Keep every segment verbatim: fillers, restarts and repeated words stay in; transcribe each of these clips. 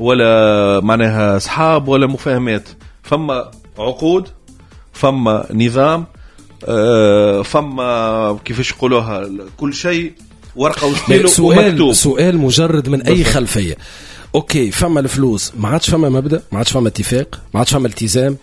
ولا معناها اصحاب ولا مفاهمات، فما عقود، فما نظام، آه، فما كيفاش يقولوها، كل شيء ورقة وستيلو. سؤال سؤال مجرد من اي خلفية، OK فما الفلوس، ما عادش فما مبدا، ما عادش فما اتفاق، ما عادش فما التزام.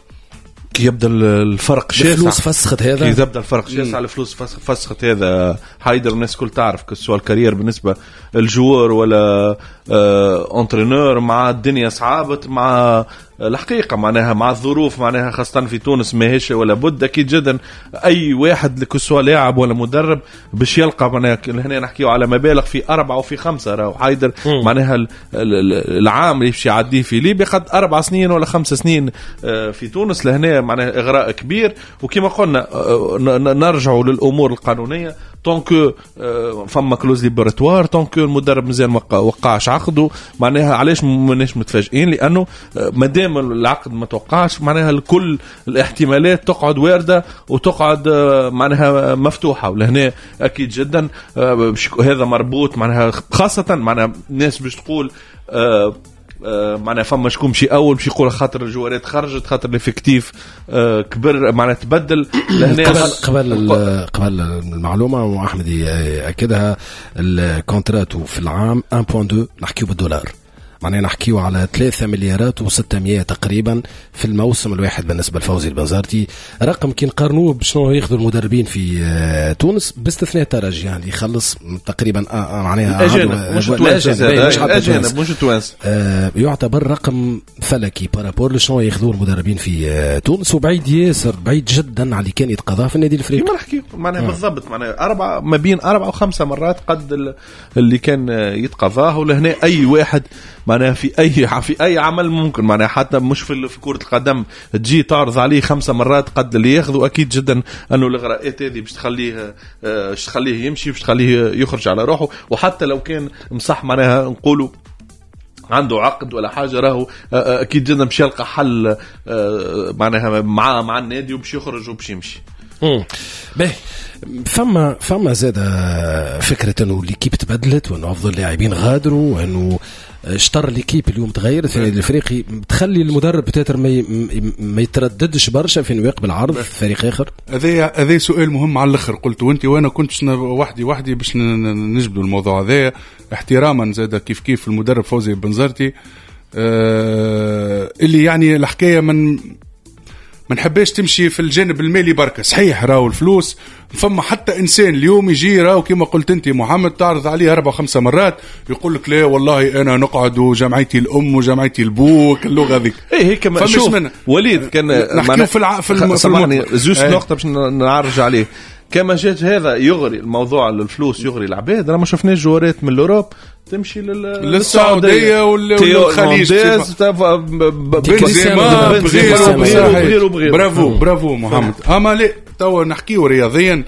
كي يبدا الفرق شاسع الفلوس فسخت هذا، كي يبدا الفرق شاسع الفلوس فسخت هذا حيدر. الناس الكل تعرف que ce soit ال carrière بالنسبة لل joueur ولا آه entraîneur، مع الدنيا صعابت، مع الحقيقة معناها مع الظروف معناها خاصة في تونس ماهيش ولا بد. اكيد جدا اي واحد que ce soit لاعب ولا مدرب باش يلقى معناها، هنا نحكيو على مبالغ في اربعة وفي خمسة، راهو حيدر معناها العام اللي باش يعديه في ليبيا قد اربع سنين ولا خمس سنين في تونس. لهنا معناها اغراء كبير، وكما قلنا نرجعوا للامور القانونية، tant que فما clause libératoire، tant que المدرب مازال ما وقعش عقده، معناها علاش ماناش متفاجئين؟ لانه مادام العقد ما توقعش معناها الكل الاحتمالات تقعد وارده وتقعد معناها مفتوحه. ولهنا اكيد جدا هذا مربوط معناها خاصة معناها الناس باش تقول آه معناها فما شكون مشي اول باش يقول خاطر الجوارات خرجت، خاطر l'effectif كبر معناها تبدل. لهنا قبل قبل قبل المعلومة واحمد ياكدها، ال contrat في العام واحد فاصلة اثنين نحكيو بالدولار، معناها نحكيو على ثلاثة مليارات وستمية تقريبا في الموسم الواحد بالنسبة لفوزي البنزرتي. رقم كي نقارنوه بشنو ياخذوا المدربين في تونس باستثناء الترجي، يعني يخلص تقريبا معناها اجانب مش توانسة، مش اجانب مش توانسة، آه يعتبر رقم فلكي par rapport لشنو ياخذوه المدربين في تونس، وبعيد ياسر بعيد جدا على اللي كان يتقاضاه في النادي الافريقي. كما نحكي معناها بالضبط معناها أربعة ما بين أربعة وخمسة مرات قد اللي كان يتقاضاه. ولهنا أي واحد معناها في اي في اي عمل ممكن معناها حتى مش في في كرة القدم تجي تعرض عليه خمسة مرات قد اللي ياخذه، اكيد جدا انه الاغراءات هذه باش تخليه باش تخليه يمشي، باش تخليه يخرج على روحه. وحتى لو كان مصح معناها نقولوا عنده عقد ولا حاجة، راهو اكيد جدا باش يلقى حل معناها مع مع النادي وباش يخرج وباش يمشي. امم باهي، فما فما زاد فكرة انه l'équipe تبدلت، وانه افضل لاعبين غادروا، وانه شطر l'équipe اليوم تغير في النادي الافريقي، تخلي المدرب peut-être ما ما يترددش برشا في انه يقبل عرض فريق اخر. هذا هذا سؤال مهم على الاخر قلت وانت، وانا كنت وحدي وحدي باش نجبدوا الموضوع هذا، احتراما زاد كيف كيف المدرب فوزي بنزرتي آه اللي يعني الحكاية من ما نحبش تمشي في الجانب المالي بركة. صحيح راهو الفلوس، فما حتى انسان اليوم يجي راهو كما قلت انت محمد تعرض عليه اربع خمسة مرات يقول لك لا والله انا نقعد وجمعيتي الام وجمعيتي البوك اللغة هذيك. اي هيك شوف وليد كان نحكيو في الع... في الم... في زوج نقطة باش نعرج عليه. كما جات هذا يغري الموضوع الفلوس يغري العباد، راه ما شفناش جوارات من l'Europe تمشي للسعودية والخليج، بنزيما بغيره بغيره. برافو برافو محمد. اما لا توا نحكيو رياضيا،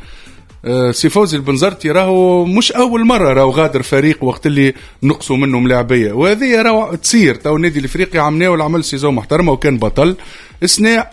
سي فوزي البنزرتي راهو مش اول مرة راهو غادر فريق وقت اللي نقصوا منه ملاعبيه، وهذه راهو تصير. تو النادي الافريقي عملناه عمل saison محترمه وكان بطل السنة،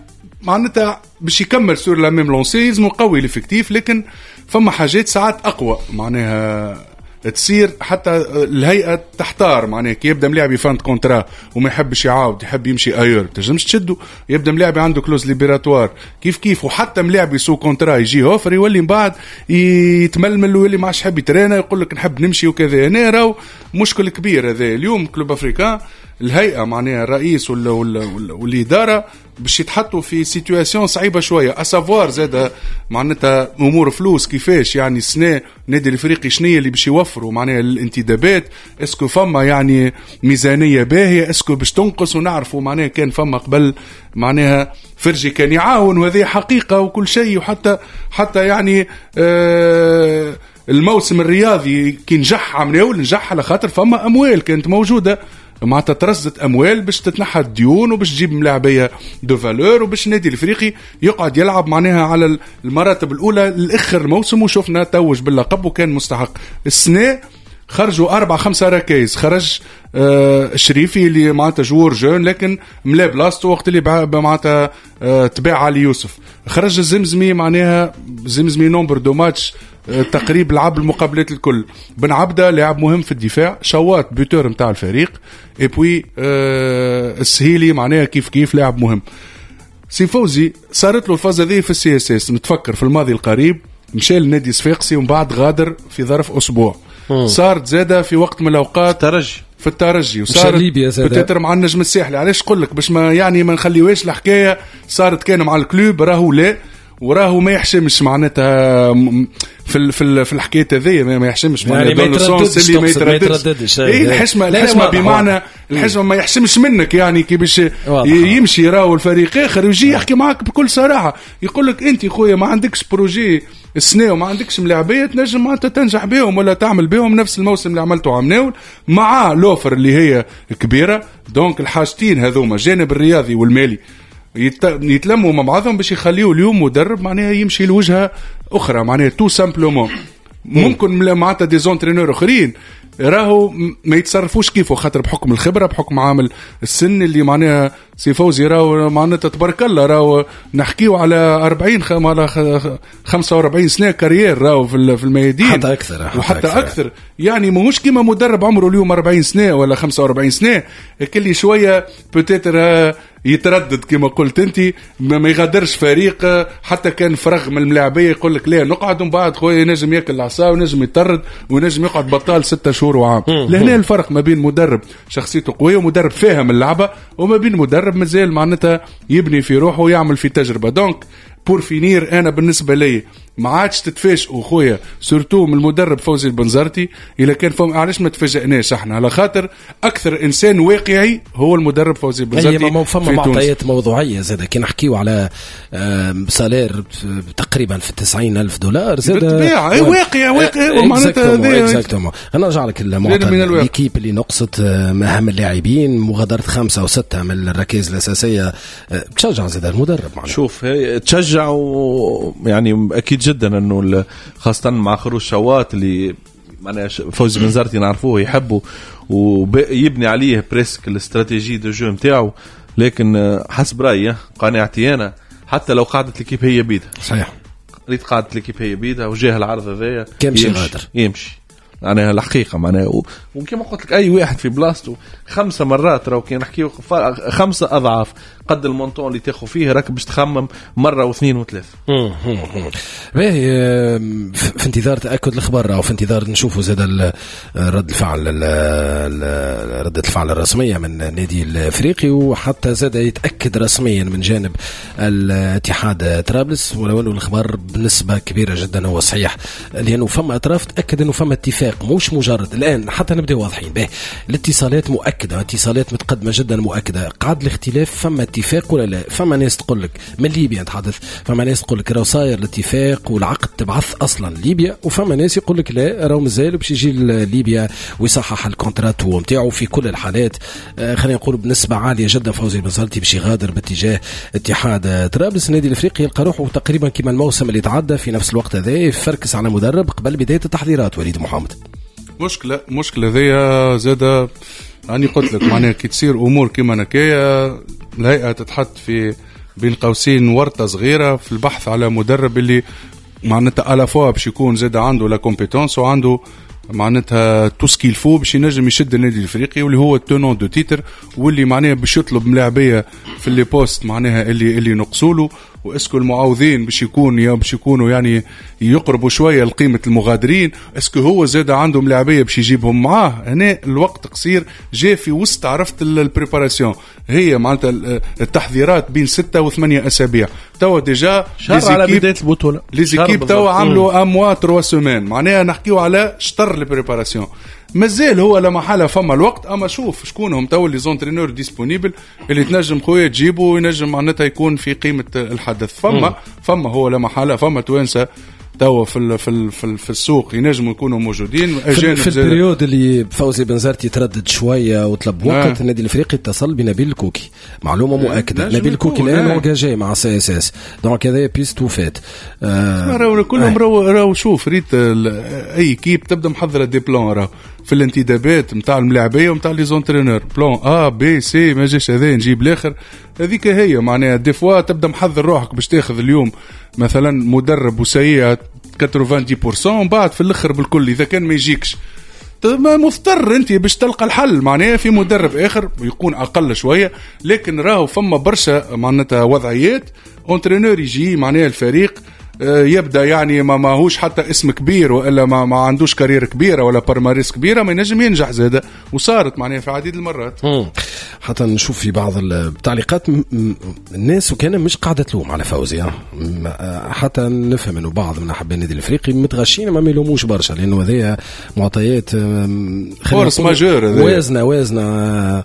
معناتها باش يكمل sur la même lancée لازم يقوي l'effectif، لكن فما حاجات ساعات اقوى معناها تصير حتى الهيئة تحتار. معناها كي يبدا ملاعب fin de contrat وما يحبش يعاود يحب يمشي ailleurs تنجمش تشدو، يبدا ملاعب عنده clause libératoire كيف كيف، وحتى ملاعب sous contrat يجي offre يولي من بعد يتململ ويولي ما عادش يحب يترينا يقول لك نحب نمشي وكذا. هنا راهو مشكل كبير هذا اليوم. Club Africain الهيئة معناها الرئيس ولا ولا ولا والادارة باش يتحطوا في situation صعيبة شوية، à savoir زاد معناتها امور فلوس كيفاش يعني السنة النادي الافريقي شنية اللي باش يوفروا معناها الانتدابات، est-ce que فما يعني ميزانية باهيه، est-ce que باش تنقص، ونعرفوا معناها كان فما قبل معناها فرجي كان يعاون وهذه حقيقة وكل شيء، وحتى حتى يعني آه الموسم الرياضي كي نجح عملناه نجح على خاطر فما اموال كانت موجودة، معناتها ترصدت اموال باش تتنحى الديون وباش تجيب ملاعبيه de valeur وباش النادي الافريقي يقعد يلعب معناها على المراتب الاولى لاخر الموسم، وشفنا توج باللقب وكان مستحق. السنة خرجوا اربع خمسة ركايز، خرج آه الشريفي اللي معناتها joueur jeune لكن ملا بلاصتو وقت اللي معناتها آه تباع علي يوسف، خرج الزمزمي معناها زمزمي nombre de matchs آه تقريب لعب المقابلات الكل، بن عبده لاعب مهم في الدفاع، شوات buteur نتاع الفريق، et puis آه السهيلي معناها كيف كيف لاعب مهم. سي فوزي صارت له الفازة ذي في ال CSS، نتفكر في الماضي القريب مشى لنادي صفاقسي ومن بعد غادر في ظرف اسبوع. مم. صارت زاده في وقت من الاوقات الترجي في الترجي، وصارت ليبيا peut-être مع النجم الساحلي. علاش نقول لك باش ما يعني ما نخليوهاش الحكاية صارت كان مع ال club، راهو لا وراهو ما يحشمش معناتها في في في الحكاية هذيا ما يحشمش يعني ما يترددش اللي ما يترددش. اي الحشمة الحشمة بمعنى الحشمة ما يحشمش منك يعني كي باش يمشي راهو الفريق اخر ويجي يحكي معاك بكل صراحة يقول لك انت خويا ما عندكش projet السنة وما عندكش ملاعبيه تنجم معناتها تنجح بهم ولا تعمل بهم نفس الموسم اللي عملته عمناول مع l'offre اللي هي كبيرة. donc الحاجتين هذوما الجانب الرياضي والمالي يتلموا مع بعضهم باش يخليوا اليوم مدرب معناها يمشي لوجهه اخرى معناها tout simplement. ممكن معناتها des entraîneurs اخرين راهو ما يتصرفوش كيفه خاطر بحكم الخبرة بحكم عامل السن اللي معناها سي فوزي راهو معناتها تبارك الله راهو نحكيو على أربعين خم على خمسة وأربعين سنة carrière راهو في الميادين حتى اكثر حتى وحتى أكثر. اكثر يعني ماهوش كيما مدرب عمره اليوم أربعين سنة ولا خمسة وأربعين سنة كل شوية peut-être يتردد كما قلت انت ما يغادرش فريق حتى كان فرغ من الملاعبيه يقول لك لا نقعد ومن بعد خويا ينجم ياكل العصا ونجم يطرد ونجم يقعد بطال ستة شهور وعام. لهنا الفرق ما بين مدرب شخصيته قوية ومدرب فاهم اللعبة وما بين مدرب مازال معناتها يبني في روحه ويعمل في تجربه. donc pour finir انا بالنسبة لي ما عادش تتفاجئوا خويا surtout من المدرب فوزي البنزرتي اذا كان فهم. علاش ما تفاجئناش احنا؟ على خاطر اكثر انسان واقعي هو المدرب فوزي البنزرتي. اي فما معطيات موضوعية زاد كي نحكيو على salaire تقريبا في تسعين ألف دولار زاد بالطبيعة اي واقع واقع معناتها exactement. انا نرجع لك المعطى l'équipe اللي نقصت مهام اللاعبين مغادرة خمسة وستة من الركائز الاساسية تشجع زاد المدرب معناتها. شوف تشجع و يعني اكيد جدا انه خاصة مع خروج شوات اللي معناها فوزي بنزرتي نعرفوه يحبه ويبني عليه presque ال stratégie de jeu نتاعو، لكن حسب رايي قناعتي انا حتى لو قعدت l'équipe هي بيدها صحيح ريت قعدت l'équipe هي بيدها وجاه العرض هذايا يمشي غادر يمشي معناها الحقيقة معناها. وكما قلت لك اي واحد في بلاصته خمسة مرات راهو كي نحكيو خمسة اضعاف قد ال montant اللي تاخذ فيه راك باش تخمم مرة واثنين وثلاثة. باهي في انتظار تاكد الخبر او في انتظار نشوفوا زاد رد الفعل ردة الفعل الرسمية من النادي الافريقي وحتى زاد يتاكد رسميا من جانب الاتحاد طرابلس، ولو انه الخبر بنسبة كبيرة جدا هو صحيح لانه فما اطراف تاكد انه فما اتفاق مش مجرد الان حتى نبداو واضحين به الاتصالات مؤكدة اتصالات متقدمة جدا مؤكدة قعد الاختلاف فما اتفاق ولا لا. فما ناس تقول لك من ليبيا نتحدث فما ناس تقول لك راهو صاير الاتفاق والعقد تبعث اصلا ليبيا، وفما ناس يقول لك لا راهو مازال باش يجي ليبيا ويصحح ال contrat نتاعو. في كل الحالات خلينا نقول بنسبة عالية جدا فوزي البنزرتي باش يغادر باتجاه اتحاد طرابلس. النادي الافريقي يلقى روحه تقريبا كما الموسم اللي تعدى في نفس الوقت هذا يفركس على مدرب قبل بداية التحضيرات. وليد محمد مشكلة مشكلة ذي زادة أنا قلت لك معناها كي تصير أمور كيما نكايا الهيئة تتحط في بين قوسين ورطة صغيرة في البحث على مدرب اللي معناتها à la fois باش يكون زاد عنده la compétence وعنده معناتها tout ce qu'il faut باش ينجم يشد النادي الافريقي واللي هو ال tenant du titre واللي معناها باش يطلب ملاعبيه في les postes معناها اللي اللي نقصوا له، و est-ce que المعوضين باش يكون يا باش يكونوا يعني يقربوا شوية لقيمة المغادرين، est-ce que هو زاد عنده ملاعبيه باش يجيبهم معاه. هنا الوقت قصير جاء في وسط عرفت ال préparation هي معناتها التحضيرات بين ستة وثمانية اسابيع توا déjà شهر على بداية البطولة les équipes توا عملوا un mois trois semaines معناها نحكيو على شطر ال préparation مازال هو لا محالة فما الوقت. اما شوف شكون هم تو les entraîneurs disponibles اللي تنجم خويا تجيبه وينجم معناتها يكون في قيمة الحدث. فما فما هو لا محالة فما توانسة توا في في في, في السوق ينجموا يكونوا موجودين اجانب. في ال période اللي فوزي بنزرتي تردد شوية وطلب وقت آه. النادي الافريقي اتصل بنبيل الكوكي معلومة مؤكدة نبيل الكوكي الان engagé مع CSS donc هذا piste وفات آه. راهو كلهم راهو راهو شوف ريت اي équipe تبدا محضرة des plans راهو في الانتدابات نتاع الملاعبيه ونتاع les entraîneurs، plan A B C، ما جاش هذا نجيب الاخر. هذيك هي معناها des fois تبدا محضر روحك باش تاخذ اليوم مثلا مدرب وسيء تسعة وتسعين بالمية، بعد في الاخر بالكل اذا كان ما يجيكش ما مضطر انت باش تلقى الحل معناها في مدرب اخر يكون اقل شوية. لكن راهو فما برشا معناتها وضعيات entraîneur يجي معناها الفريق يبدا يعني ما ماهوش حتى اسم كبير والا ما, ما عندوش carrière كبيرة ولا palmarès كبيرة، ما ينجم ينجح زاده، وصارت معناها في عديد المرات. مم. حتى نشوف في بعض التعليقات الناس وكان مش قاعدة تلوم على فوزي، حتى نفهم انه بعض من احباء النادي الافريقي متغشين ما يلوموش برشا، لانه هذه معطيات force majeure وازنه وازنه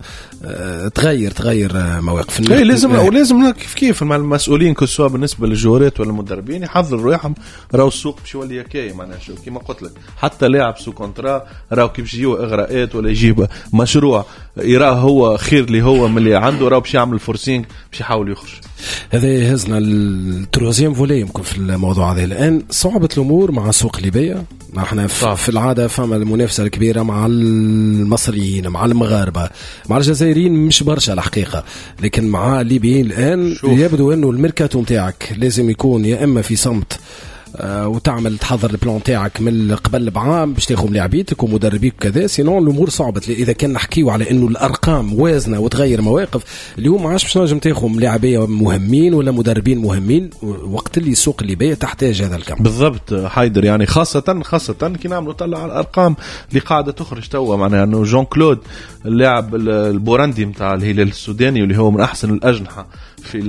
تغير تغير مواقف. اي لازم ولازم كيف كيف مع المسؤولين que ce soit بالنسبة للجوارات ولا المدربين يحضروا رواحهم، راهو السوق باش يولي كاي معناها شو كيما قلت لك، حتى لاعب sous contrat راهو كيف يجيو اغراءات ولا يجيب مشروع يراه هو خير اللي هو من اللي عنده، راهو باش يعمل forcing باش يحاول يخرج. هذا يهزنا ال troisième volet يمكن في الموضوع هذا. الان صعبة الامور مع السوق الليبية، احنا في العادة فما المنافسة الكبيرة مع المصريين مع المغاربة مع الجزائريين مش برشا الحقيقة، لكن مع الليبيين الان شوف. يبدو انه الميركاتو نتاعك لازم يكون يا اما في صمت وتعمل تحضر ال plan تاعك من قبل بعام باش تاخذ لاعبيتك ومدربيك وكذا، sinon الامور صعبت. اذا كان نحكيو على انه الارقام وازنه وتغير مواقف، اليوم ما عادش باش نجم تاخذ لاعبيه مهمين ولا مدربين مهمين وقت اللي السوق الليبية تحتاج هذا الكم. بالضبط حيدر، يعني خاصة خاصة كي نعملوا طلع على الارقام اللي قاعدة تخرج توا، معناها انه جون كلود اللاعب البورندي نتاع الهلال السوداني واللي هو من احسن الاجنحة في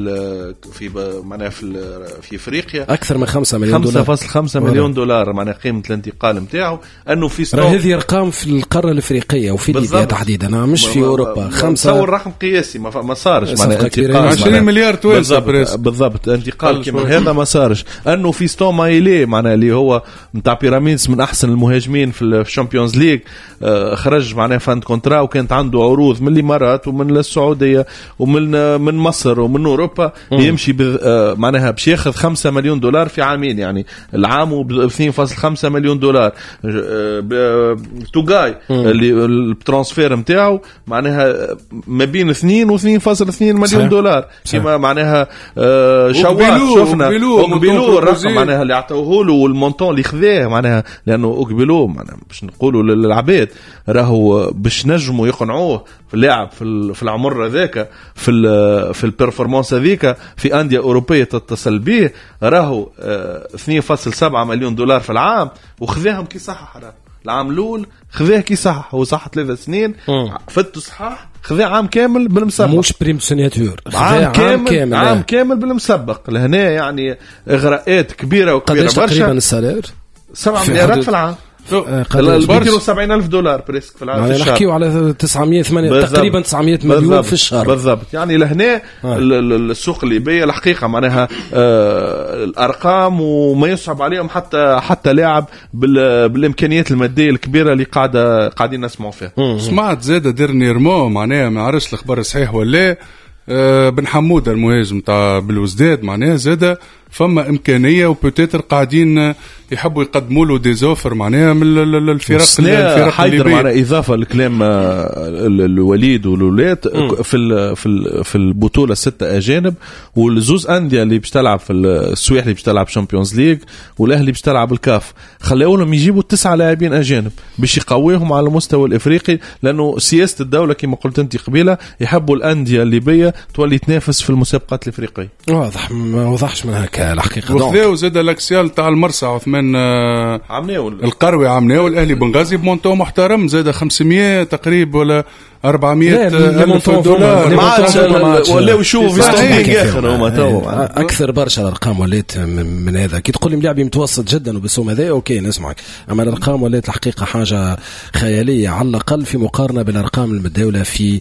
في معناها في في افريقيا، اكثر من خمسة مليون دولار، خمسة فاصلة خمسة مليون دولار معناها قيمة الانتقال نتاعو. انه في ستون هذه ارقام في القارة الافريقية وفي ليبيا تحديدا، مش في اوروبا. خمسة تصور رقم قياسي ما, ما صارش معناها انتقال عشرين مليار توانسة بالضبط, بالضبط انتقال كيما هذا ما صارش. انه في ستون مايلي معناها اللي هو نتاع بيراميدز من احسن المهاجمين في ال Champions League، خرج معناها fin de contrat وكانت عنده عروض من الامارات ومن السعودية ومن من مصر ومن اوروبا، مم. يمشي معناها باش ياخذ خمسة مليون دولار في عامين، يعني العام ب اثنين فاصلة خمسة مليون دولار. توغاي اللي ال transfert نتاعو معناها ما بين اثنين و اثنين فاصلة اثنين مليون دولار، كما معناها شوات شفنا اوكبيلو الرقم معناها اللي عطوه له وال montant اللي خذاه معناها، لانه اوكبيلو معناها باش نقولوا للعباد راهو باش نجموا يقنعوه في اللاعب في في العمر هذاك في في ال performance هذيك في اندية اوروبية تتصل به، راهو اثنين فاصلة سبعة مليون دولار في العام وخذاهم كي صحح. العام الاول خذاه كي صحح، هو صح ثلاث سنين فتو صحاح، خذاه عام كامل بالمسبق، مش prime signature، عام كامل, عام كامل, عام كامل بالمسبق. لهنا يعني اغراءات كبيرة وكبيره برشا. تقريبا ال salaire سبعة مليارات في العام، مئتين وسبعين ألف دولار presque في العام. يعني نحكيو على تسعمية ثمانية تقريبا تسعمية مليون في الشهر بالضبط. يعني لهنا السوق الليبية الحقيقة معناها آه الأرقام وما يصعب عليهم حتى حتى لاعب بالإمكانيات المادية الكبيرة اللي قاعدة قاعدين نسمعوا فيها. سمعت زادة dernièrement معناها ما عرفش الأخبار صحيح ولا، آه بن حمودة المهاجم تاع بالوزداد معناها زادة فما إمكانية و peut-être قاعدين يحبوا يقدموا له des offres معناها من الفرق الفرق الليبية. معناها إضافة لكلام الوليد والولاد في في في البطولة ستة أجانب، والزوز أندية اللي باش تلعب في السويح اللي باش تلعب Champions League والأهلي باش تلعب الكاف، خلاو لهم يجيبوا تسعة لاعبين أجانب باش يقويهم على المستوى الإفريقي، لأنه سياسة الدولة كما قلت أنت قبيلة يحبوا الأندية الليبية تولي تنافس في المسابقات الإفريقية. واضح ما وضحش من هكا الحقيقة. وخذاو زاد l'axial تاع المرسى عثمان عمناول القروي عمناول الاهلي بنغازي ب montant محترم زاد خمسمية تقريبا ولا أربعمية ألف دولار. ما عادش ولاو يشوفوا في اخر هما تو اكثر برشا الارقام ولات من هذا. كي تقول لي ملاعبي متوسط جدا وبالسوم هذا اوكي نسمعك، اما الارقام ولات الحقيقة حاجة خيالية على الاقل في مقارنة بالارقام المتداولة في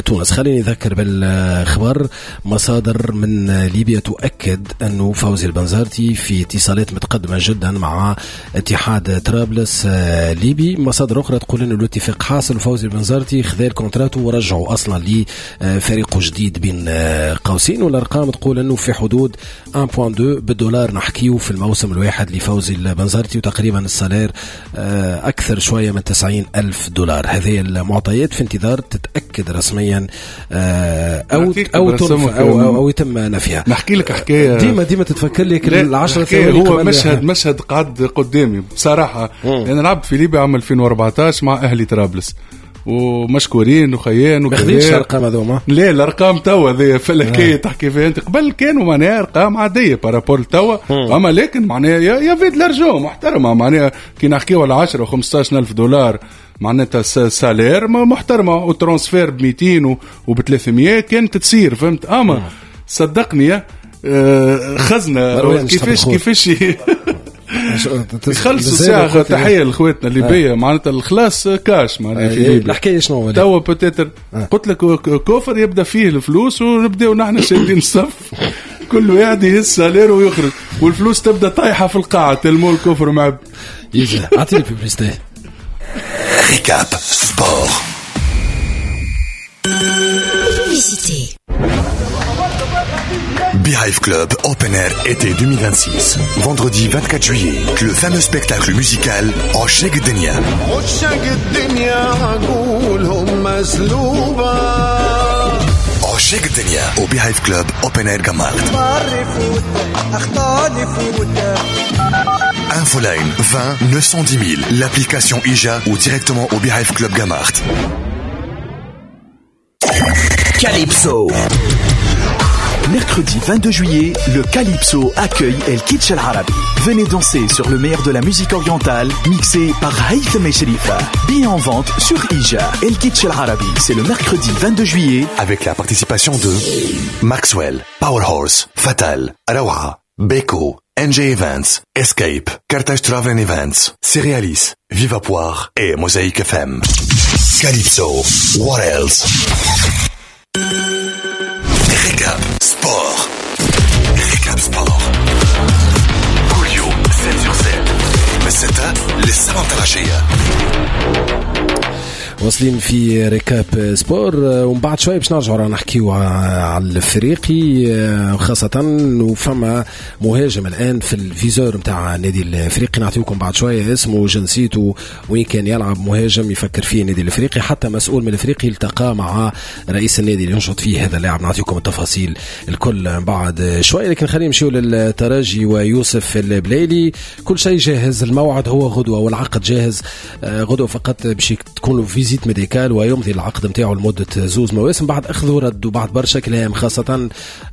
تونس. خليني نذكر بالخبر، مصادر من ليبيا تؤكد انه فوزي البنزرتي في اتصالات متقدمة جدا مع اتحاد طرابلس ليبي. مصادر اخرى تقول انه الاتفاق حاصل وفوزي البنزرتي خذا ال contrat ورجعوا اصلا لفريقه جديد بين قوسين. والارقام تقول انه في حدود واحد فاصلة اثنين بالدولار نحكيو في الموسم الواحد لفوزي البنزرتي، وتقريبا ال salaire اكثر شوية من تسعين ألف دولار. هذه المعطيات في انتظار تتاكد رسميا او او او, أو, أو يتم نفيها. نحكي لك حكاية ديما ديما تتفكر لك العشرة ثواني. هو مشهد مشهد قعد قدامي بصراحة. انا لعبت في ليبيا عام ألفين وأربعطاش مع اهلي طرابلس ومشكورين وخيان وكذا. ما خذيتش الارقام هذوما؟ لا الارقام توا ذي فلكيه تحكي فيها انت. قبل كانوا معناها ارقام عادية par rapport توا، اما لكن معناها y avait de l'argent محترمه، معناها كي نحكيو على عشرة وخمسطاش ألف دولار معناتها salaire محترمه، و transfert ب مئتين وب ثلاثمية كانت تصير، فهمت؟ اما صدقني خزنه كيفاش كيفاش يخلصوا ساعة. تحية لإخواتنا الليبية، معناتها الخلاص كاش معناتها في ليبيا. الحكاية شنو توا peut-être قلت لك coffre يبدا فيه الفلوس ونبداو نحن شادين الصف، كل واحد يهز salaire ويخرج والفلوس تبدا طايحة في القاعة تلمو ال coffre معب. يجي اعطيني publicité. Récap sport. Publicité. Beehive Club Open Air été deux mille vingt-six. Vendredi vingt-quatre juillet, le fameux spectacle musical عشاق الدنيا. عشاق الدنيا عقولهم مسلوبة. عشاق الدنيا au Beehive Club Open Air Gamart. Infoline vingt neuf cent dix mille, l'application I J A ou directement au Beehive Club Gamart. Calypso. Mercredi vingt-deux juillet, le Calypso accueille El Kitsch El Arabi. Venez danser sur le meilleur de la musique orientale, mixé par Haytham Sherifa. Billets en vente sur I J A. El Kitsch El Arabi, c'est le mercredi vingt-deux juillet. Avec la participation de Maxwell, Powerhorse, Fatal, Rawa, Beko, N J Events, Escape, Carthage Travel Events, Cerealis, Viva Poire et Mosaïque F M. Calypso, what else? Récap Sport. Récap Sport. كل يوم سبعة sur سبعة من ستة للسبعة العشية. واصلين في Récap Sport، ومن بعد شوي باش نرجعوا رانا نحكيو على الافريقي خاصة، وفما مهاجم الان في ال viseur نتاع النادي الافريقي نعطيكم بعد شوية اسمه وجنسيته وين كان يلعب، مهاجم يفكر فيه النادي الافريقي، حتى مسؤول من الافريقي التقى مع رئيس النادي اللي ينشط فيه هذا اللاعب، نعطيكم التفاصيل الكل بعد شوي. لكن خلينا نمشيو للترجي ويوسف البلايلي، كل شيء جاهز، الموعد هو غدوه والعقد جاهز غدوه، فقط باش تكون له visite médicale ويمضي العقد نتاعو لمدة زوز مواسم بعد اخذ ورد وبعد برشا كلام خاصة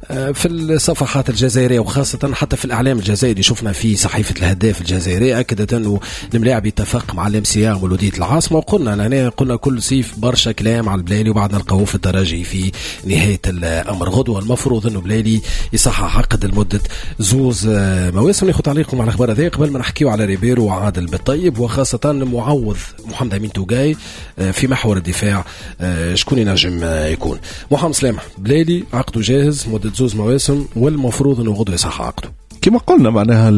في الصفحات الجزائرية وخاصة حتى في الاعلام الجزائري. شفنا في صحيفة الهداف الجزائرية اكدت انه الملاعب يتفق مع ال MCA مولوديه العاصمة، وقلنا هنا قلنا كل صيف برشا كلام على البلايلي وبعد نلقاوه في الترجي في نهاية الامر. غدوه المفروض انه بلايلي يصحح عقد لمدة زوز مواسم. ناخذ تعليقكم على الاخبار هذه قبل ما نحكيو على ريبيرو وعادل بالطيب وخاصة معوض محمد امين توغاي في محور الدفاع، شكون ينجم يكون؟ محمد سلامة بلايلي عقده جاهز مدة زوز مواسم والمفروض انه غدوه يصح عقده. كما قلنا معناها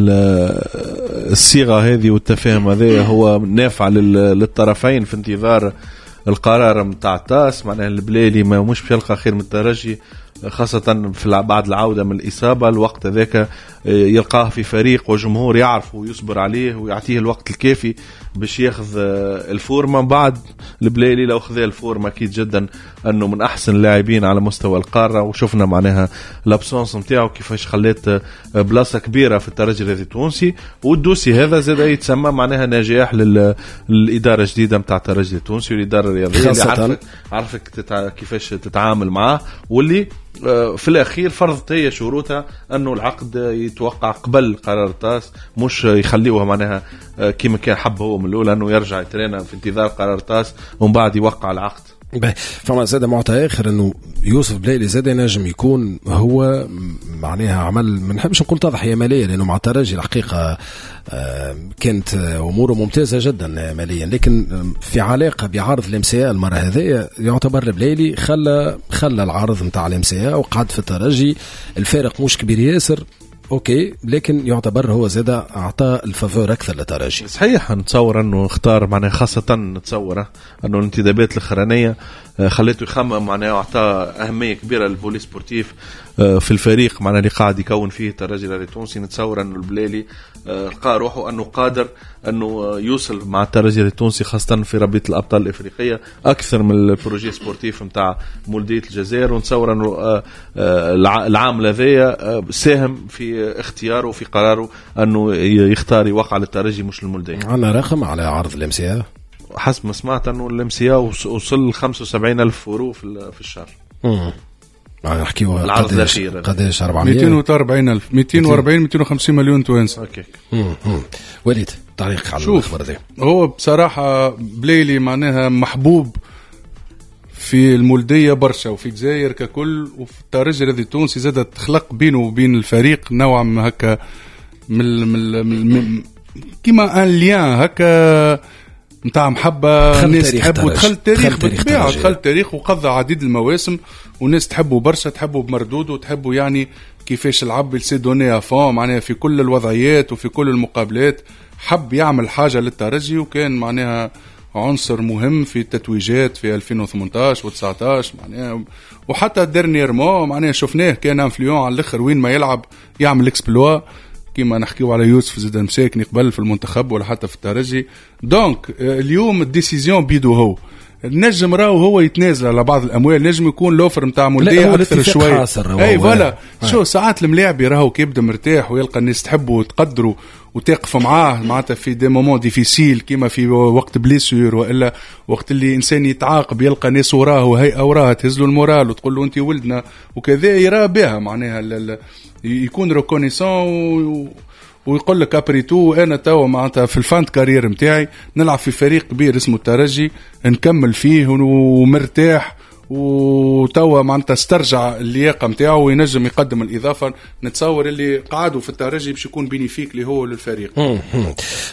الصيغة هذه والتفاهم هذا هو نافع للطرفين في انتظار القرار نتاع التاس. معناها البلايلي ما مش باش يلقى خير من الترجي خاصة في بعد العودة من الإصابة، الوقت هذاك يلقاه في فريق وجمهور يعرفه ويصبر عليه ويعطيه الوقت الكافي باش ياخذ الفورمة. بعد البلايلي لو خذ الفورمة أكيد جدا أنه من أحسن اللاعبين على مستوى القارة، وشفنا معناها l'absence نتاعو كيفاش خلات بلاصة كبيرة في الترجي الرياضي التونسي. وال dossier هذا زاد يتسمى معناها نجاح للإدارة الجديدة نتاع الترجي التونسي والإدارة الرياضية اللي عرفت عرفت كيفاش تتعامل معاه، واللي في الأخير فرضت هي شروطها أنه العقد يتوقع قبل قرار التاس، مش يخليوها معناها كيما كان حب هو من الأول أنه يرجع يترينا في انتظار قرار التاس ومن بعد يوقع العقد. فما زاد معطى آخر أنه يوسف بلايلي زاد ينجم يكون هو معناها عمل، ما نحبش نقول تضحية مالية لأنه مع الترجي الحقيقة كانت أموره ممتازة جدا ماليا، لكن في علاقة بعرض ال MCA المرة هذه يعتبر البلايلي خلى خلى العرض نتاع ال MCA وقعد في الترجي، الفارق مش كبير ياسر، OK، لكن يعتبر هو زاد اعطى ال faveur اكثر للترجي. صحيح، نتصور انه اختار معناها، خاصة نتصور انه الانتدابات الاخرانية خليته يخمم معناها، واعطى اهمية كبيرة لل volet sportif في الفريق معناها اللي قاعد يكون فيه الترجي التونسي. نتصور انه البلالي لقى روحه انه قادر انه يوصل مع الترجي التونسي خاصة في رابطه الابطال الافريقية اكثر من ال projet sportif نتاع مولوديه الجزائر، ونتصور انه العام هذايا ساهم في اختياره وفي قراره انه يختار يوقع للترجي مش للمولوديه. عندنا رقم على عرض ال MCA؟ حسب ما سمعت انه ال MCA وصل خمسة وسبعين ألف اورو في الشهر. امم نحكيو العرض الاخير قداش؟ أربعمية مئتين وأربعين ألف، مئتين وأربعين مئتين وخمسين مليون توانسة. OK. وليد، تعليق على الخبر هذا؟ هو بصراحة بليلي معناها محبوب في المولديه برشا وفي الجزائر ككل، وفي الترجي الرياضي التونسي زاد تخلق بينه وبين الفريق نوعا ما هكا من من كيما un lien هكا نتاع محبة، الناس تحبه، دخل التاريخ بالطبيعة، دخل التاريخ وقضى عديد المواسم والناس تحبه برشا، تحبه بمردوده وتحبه يعني كيفاش لعب، s'est donné à fond معناها في كل الوضعيات وفي كل المقابلات، حب يعمل حاجة للترجي وكان معناها عنصر مهم في التتويجات في ألفين وثمنطاش وتسعطاش معناها، وحتى dernièrement معناها شفناه كان influent على الاخر، وين ما يلعب يعمل exploit كيما نحكيو على يوسف زيد مساكني قبل في المنتخب ولا حتى في الترجي. donc اليوم ال décision بيدو هو، نجم راهو هو يتنازل على بعض الاموال، نجم يكون l'offre نتاع مولديه اكثر شوية. اي voilà، شو ساعات الملاعبي راهو كيبدا مرتاح ويلقى الناس تحبه وتقدره وتقف معاه معناتها في des moments difficiles كيما في وقت blessure والا وقت اللي انسان يتعاقب يلقى ناس وراه وهيئة وراه تهز له ال moral وتقول له انت ولدنا وكذا، يرى بها معناها يكون reconnaissant و... ويقول لك après tout انا توا معناتها في ال fin de carrière نتاعي نلعب في فريق كبير اسمه الترجي نكمل فيه ومرتاح، وتوا معناتها استرجع اللياقة نتاعو وينجم يقدم الاضافة. نتصور اللي قعدوا في الترجي باش يكون bénéfique اللي هو للفريق.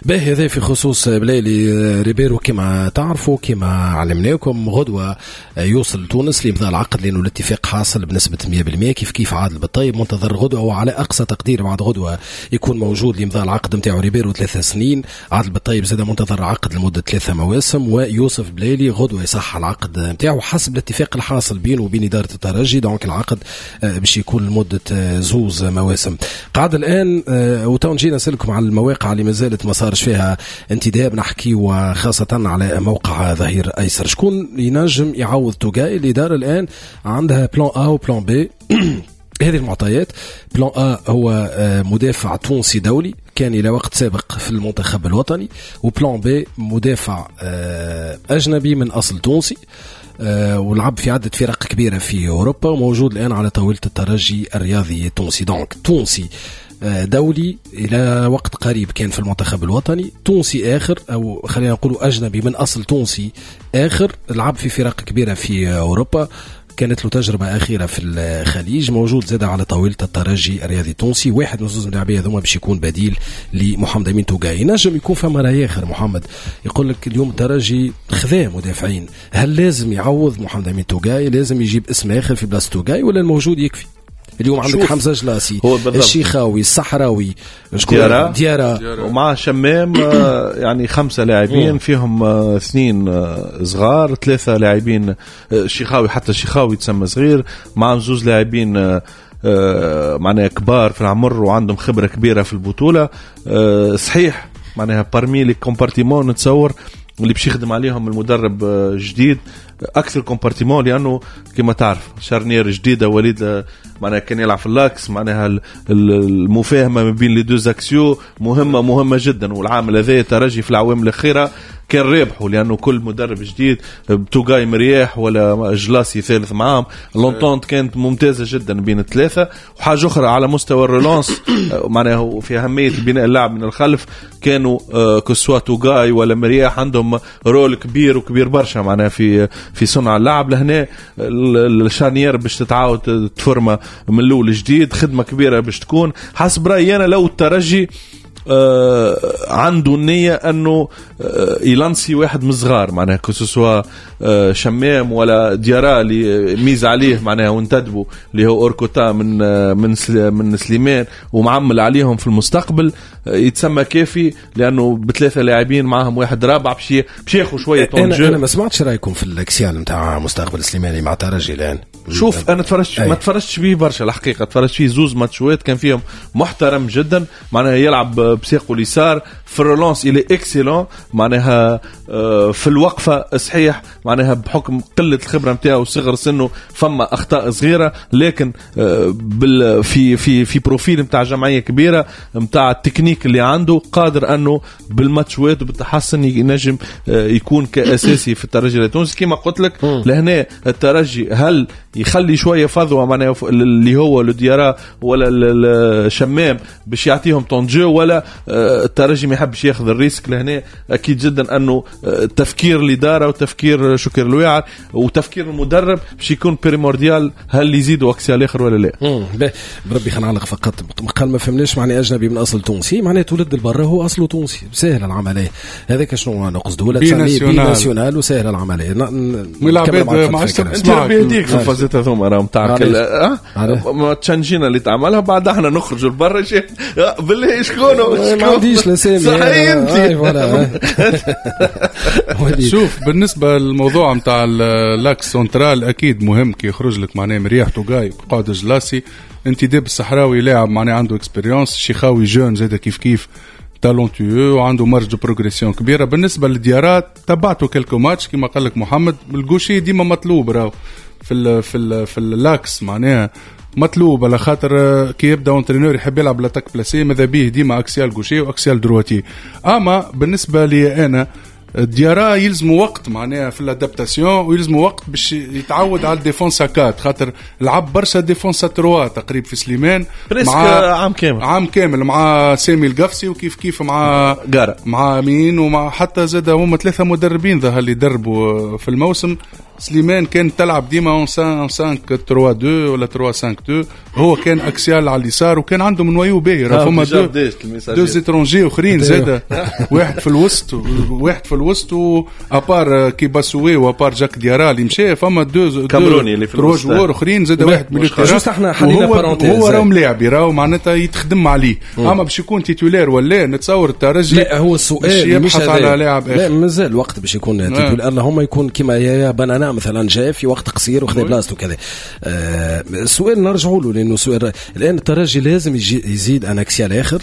باهي، هذا في خصوص بلايلي. ريبيرو كما تعرفوا كما علمناكم غدوه يوصل تونس لامضاء العقد لانه الاتفاق حاصل بنسبة مية بالمية. كيف كيف عادل بالطيب منتظر غدوه، وعلى اقصى تقدير بعد غدوه يكون موجود لامضاء العقد نتاعو. ريبيرو ثلاث سنين، عادل بالطيب زاد منتظر عقد لمدة ثلاثة مواسم، ويوسف بلايلي غدوه يصح العقد نتاعو حسب الاتفاق الحاصل بينه وبين إدارة الترجي. donc العقد باش يكون لمدة زوز مواسم. قاعد الآن وتو نجي نسألكم على المواقع اللي ما زالت ما صارش فيها انتداب، نحكي وخاصة على موقع ظهير أيسر، شكون ينجم يعوض توغاي؟ الإدارة الآن عندها plan A و plan B. هذه المعطيات، plan A هو مدافع تونسي دولي كان إلى وقت سابق في المنتخب الوطني، و plan B مدافع أجنبي من أصل تونسي ولعب في عدة فرق كبيرة في أوروبا وموجود الآن على طاولة الترجي الرياضي التونسي. donc تونسي دولي إلى وقت قريب كان في المنتخب الوطني، تونسي آخر أو خلينا نقول أجنبي من أصل تونسي آخر لعب في فرق كبيرة في أوروبا، كانت له تجربة أخيرة في الخليج، موجود زاد على طاولة الترجي الرياضي التونسي. واحد من زوز اللاعبين هذوما باش يكون بديل لمحمد أمين توغاي. نجم يكون فما رأي آخر محمد، يقول لك اليوم الترجي خذا مدافعين، هل لازم يعوض محمد أمين توغاي؟ لازم يجيب اسم آخر في بلاصة توغاي ولا الموجود يكفي؟ اليوم عندك حمزة جلاسي، الشيخاوي، الصحراوي، ديارة, ديارة. ومع شمام يعني خمسة لاعبين فيهم اثنين صغار، ثلاثة لاعبين الشيخاوي، حتى الشيخاوي تسمى صغير، مع زوز لاعبين معناها كبار في العمر وعندهم خبرة كبيرة في البطولة. صحيح معناها parmi les compartiments نتصور اللي باش يخدم عليهم المدرب الجديد اكثر compartiment، لانه كما تعرف charnière جديدة، وليد معناها كان يلعب في l'axe، معناها المفاهمه ما بين les deux axiaux مهمة مهمة جدا. والعامل هذا ترجي في العوام الاخيرة كان رابحه، لانه كل مدرب جديد بتوغاي مرياح ولا جلاسي ثالث معاهم، l'entente كانت ممتازة جدا بين الثلاثة. وحاجه اخرى على مستوى ال relance معناها في اهمية بناء اللعب من الخلف، كانوا que ce soit توغاي ولا مرياح عندهم rôle كبير وكبير برشا معناها في في صنع اللعب. لهنا ال charnière باش تتعاود تفرمه من الاول جديد، خدمة كبيرة باش تكون. حسب رايي انا لو الترجي آه عنده النية انه آه يلانسي واحد من الصغار، معناها que ce soit آه شمام ولا ديارا اللي ميز عليه معناها وانتدبوا اللي هو hors quota من آه من من سليمان ومعمل عليهم في المستقبل، آه يتسمى كافي لانه بثلاثة لاعبين معاهم واحد رابع باش باش ياخذ شوية temps de jeu. انا ما سمعتش رايكم في ال axial نتاع مستقبل سليماني مع ترجي الان. شوف انا تفرجت ما تفرجتش فيه برشا الحقيقة، تفرجت فيه زوز ماتشوات كان فيهم محترم جدا، معناها يلعب بساقه اليسار في ال relance il est excellent، معناها في الوقفة صحيح، معناها بحكم قلة الخبرة نتاعو وصغر سنة فما اخطاء صغيرة، لكن بال في في في profil نتاع جمعية كبيرة نتاع التكنيك اللي عنده قادر انه بالماتشوات وبالتحسن ينجم يكون كاساسي في الترجي التونسي. كما قلت لك لهنا الترجي هل يخلي شوية فضوه معناها اللي هو لديارا ولا الشمام باش يعطيهم temps de jeu، ولا الترجي ما يحبش ياخذ ال risque؟ لهنا اكيد جدا انه تفكير الادارة وتفكير شكر الواعر وتفكير المدرب باش يكون primordial، هل يزيدوا axial اخر ولا لا. بربي خلينا نعلق فقط، قال ما فهمناش معناه اجنبي من اصل تونسي، معناه تولد البرة هو اصله تونسي، سهل العملية هذاك شنو نقصده، ولا تسميه binational وسهل العملية. انت ربي يهديك في الفازات هذوما راهم تاع ما تشنجينا اللي تعملها بعد احنا نخرجوا لبرا بالله شكون ما عنديش لسامي صحيح انت. شوف بالنسبة للموضوع نتاع l'axe central اكيد مهم كي يخرج لك معناه مرياح توغاي قعد جلاسي، انتداب الصحراوي لاعب معناه عنده expérience، شيخاوي jeune زاد كيف كيف talentueux وعنده marge de progression كبيرة. بالنسبة للديارات تبعته quelques matchs كما قال لك محمد، ال gaucher ديما مطلوب راهو في ال في ال في l'axe معناها مطلوب، على خاطر كي يبدا entraîneur يحب يلعب l'attaque placée ماذا بيه ديما axial gaucher و axial droitier. اما بالنسبة لي انا ديارا يلزموا وقت معناها في ال adaptation، ويلزموا وقت باش يتعود على ال défense quatre، خاطر لعب برشا défense trois تقريبا في سليمان مع عام كامل عام كامل مع سامي القفصي وكيف كيف مع جارة مع مين ومع حتى زاد هما ثلاثة مدربين ظهر اللي دربوا في الموسم. سليمان كان تلعب ديما خمسة خمسة ثلاثة اثنين ولا ثلاثة خمسة اثنين، هو كان axial على اليسار وكان عنده من noyau باهي، راه فما deux deux étrangers اخرين زاد، واحد في الوسط واحد في الوسط و à part كيباسوي و à part جاك ديارا اللي مشى، فما deux كامروني اللي في الوسط joueurs اخرين زاد واحد من juste احنا حلينا parenthèse، هو راهو ملاعب راهو معناتها يتخدم عليه، اما باش يكون titulaire ولا نتصور الترجي لا هو السؤال مش على لاعب لا مازال وقت باش يكون titulaire، اللهم يكون كيما يا بنانا مثلا جاء في وقت قصير وخذ بلاصته كذا. آه السؤال نرجعوا له لانه سؤال الان الترجي لازم يزيد un axial اخر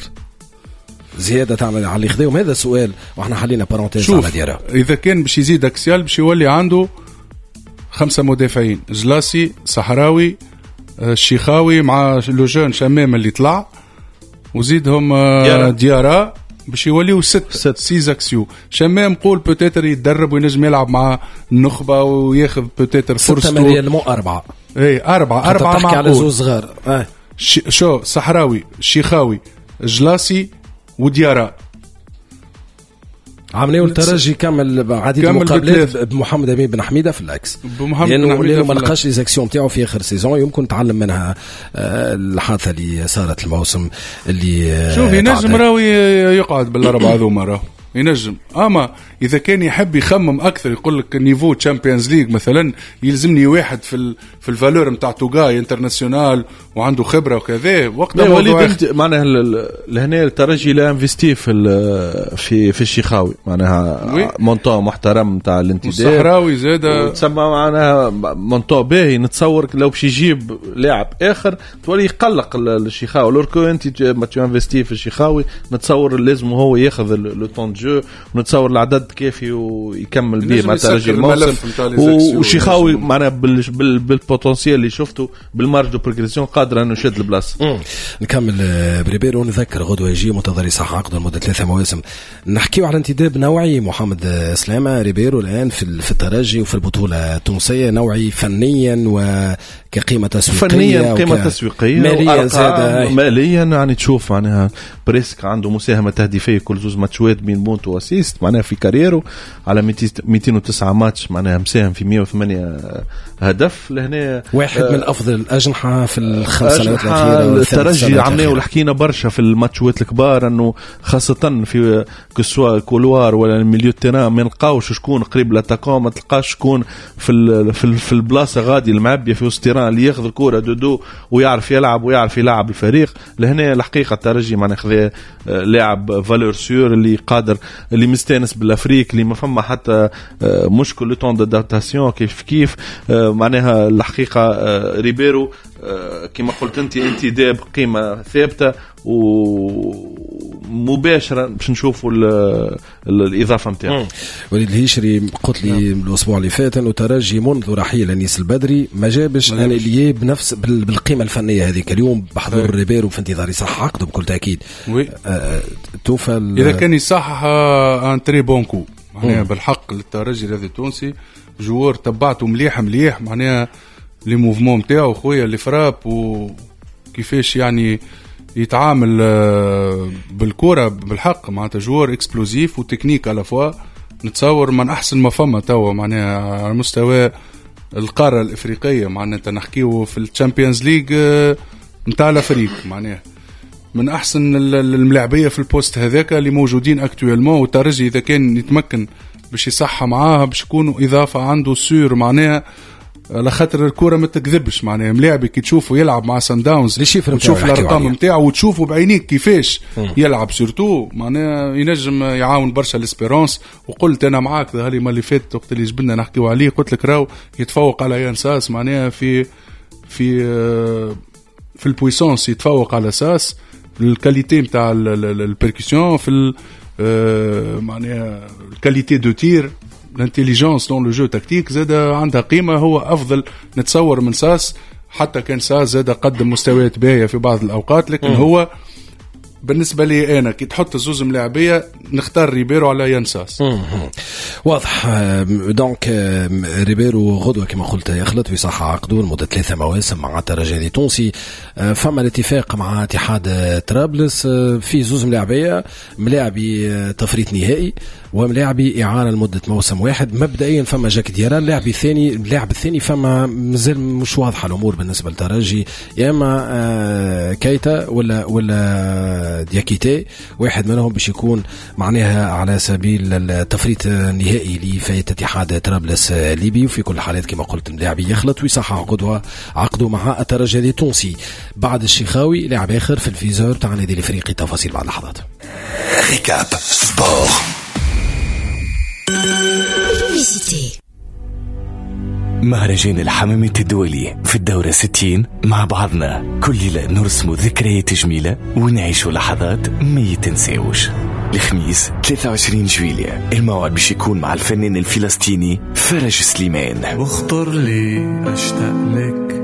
زيادة تعمل على اللي خذاهم، هذا السؤال واحنا حلينا parenthèse على ديارة. اذا كان باش يزيد axial باش يولي عنده خمسة مدافعين، جلاسي صحراوي الشيخاوي مع le jeune شمام اللي طلع وزيدهم ديارة باش يوليو ست six axiaux. شمام قول peut-être يتدرب وينجم يلعب مع النخبة وياخذ peut-être فرصته. ستة أربعة اي أربعة أربعة مع على زوز صغار. آه. شو صحراوي شيخاوي جلاسي وديارة. عملوا الترجي كمل عديد المقابلات بمحمد امين بن حميده في l'axe، لانه لانه ما لقاش les actions تاعو في اخر saison، يمكن تعلم منها الحادثة اللي صارت الموسم اللي شوف ينجم راهو يقعد بالاربعة هذوما راهو ينجم. اما اذا كان يحب يخمم اكثر يقول لك niveau Champions League مثلا يلزمني واحد في ال في ال valeur نتاع توغاي international وعنده خبره وكذا وقتها وليد معناها لهنا الترجي l'a investi في في في الشيخاوي معناها montant محترم نتاع الانتداب الصحراوي زاد تسمى معناها montant باهي. نتصور لو باش يجيب لاعب اخر تولي يقلق الشيخاوي، alors que انت ما tu investis في الشيخاوي نتصور لازم هو ياخذ le temps de jeu، ونتصور العدد كافي ويكمل به مع ترجي الموسم. وشيخاوي معناها بال potentiel اللي شفته بال marge de progression قادر انه يشد البلاصة. نكمل بريبيرو ونذكر غدوه يجي منتظر صح عقده لمدة ثلاثة مواسم. نحكيو على انتداب نوعي محمد سلامه ريبيرو الان في في الترجي وفي البطولة التونسية، نوعي فنيا وكقيمه تسويقية، فنيا قيمة تسويقية ماليا زاد ماليا يعني تشوف معناها presque عنده مساهمة تهديفيه كل زوز ماتشات بين buts و assists معناها في carrière و على مئتين وتسعة ماتش، معناها مساهم في مئة وثمانية هدف. لهنا واحد آه من افضل الاجنحة في الخمس سنوات الاخيرة. الترجي عملناه حكينا برشا في الماتشات الكبار انه خاصة في que ce soit couloir ولا ال milieu terrain ما نلقاوش شكون قريب l'attaquant، ما تلقاش شكون في في البلاصة غادي المعبيه في وسط terrain اللي ياخذ الكره de dos ويعرف يلعب ويعرف يلعب الفريق. لهنا الحقيقة الترجي معناها خذا لاعب valeur sûre اللي قادر، اللي مستانس بال Afrique، اللي ما فما حتى مشكل le temps d'adaptation كيف كيف. معناها الحقيقة ريبيرو كما قلت انت انتداب قيمة ثابتة ومباشرة باش نشوفوا الاضافة نتاعو. وليد الهيشري قلت لي الاسبوع اللي فات انه ترجي منذ رحيل انيس البدري ما جابش un ailier بنفس بالقيمة الفنية هذيك. اليوم بحضور ريبيرو في انتظار يصحح عقده بكل تاكيد. oui. آه توفى اذا كان يصحح un très bon coup معناها بالحق للترجي الرياضي التونسي. joueur تبعته مليح مليح معناها les mouvements نتاعو خويا les frappes وكيفاش يعني يتعامل بالكرة بالحق، معناتها joueur explosif و technique à la fois. نتصور من احسن ما فما توا معناها على مستوى القارة الافريقية، معناتها نحكيو في ال Champions League نتاع l'Afrique، معناها من احسن الملاعبيه في ال poste هذاك اللي موجودين actuellement. والترجي اذا كان يتمكن باش يصحى معاها باش يكونوا اضافه عنده sûr معناها، على خاطر الكره ما تكذبش معناها. ملاعبي كي تشوفه يلعب مع سان داونز تشوف الارقام نتاعو وتشوفه بعينيك كيفاش يلعب surtout معناها ينجم يعاون برشا l'Espérance. وقلت انا معاك ظهر لي ما اللي فات وقت اللي جبنا نحكيو عليه قلت لك راهو يتفوق على يان ساس معناها في في في ال puissance، يتفوق على ساس في ال qualité نتاع ال percussion، في معناها ال qualité de tir، l'intelligence dans le jeu tactique زاد عندها قيمة. هو افضل نتصور من ساس، حتى كان ساس زاد قدم مستويات باهيه في بعض الاوقات، لكن مم. هو بالنسبة لي انا كي تحط زوز ملاعبيه نختار ريبيرو على يان ساس. واضح. donc ريبيرو غدوه كما قلت يخلط ويصحح عقده لمدة ثلاثة مواسم مع الترجي التونسي. فما الاتفاق مع اتحاد طرابلس في زوز ملاعبيه، ملاعبي تفريط نهائي وملاعبي اعاره لمدة موسم واحد. مبدئيا فما جاك ديارا، اللاعب الثاني اللاعب الثاني فما مازال مش واضحة الامور بالنسبة للترجي، يا اما كايتا ولا ولا دياكيتي، واحد منهم باش يكون معناها على سبيل التفريط النهائي لفاية اتحاد طرابلس الليبي. وفي كل الحالات كما قلت اللاعب يخلط ويصحح عقده عقده مع الترجي التونسي. بعد الشيخاوي لاعب اخر في ال viseur تاع النادي الافريقي، تفاصيل بعد لحظات. récap sport. مهرجان الحمامات الدولي في الدورة ستين مع بعضنا كل ليلة نرسم ذكريات جميلة ونعيش لحظات ما يتنساوش. الخميس ثلاثة وعشرين جويلية الموعد باش يكون مع الفنان الفلسطيني فرج سليمان. واخطر لي أشتاق لك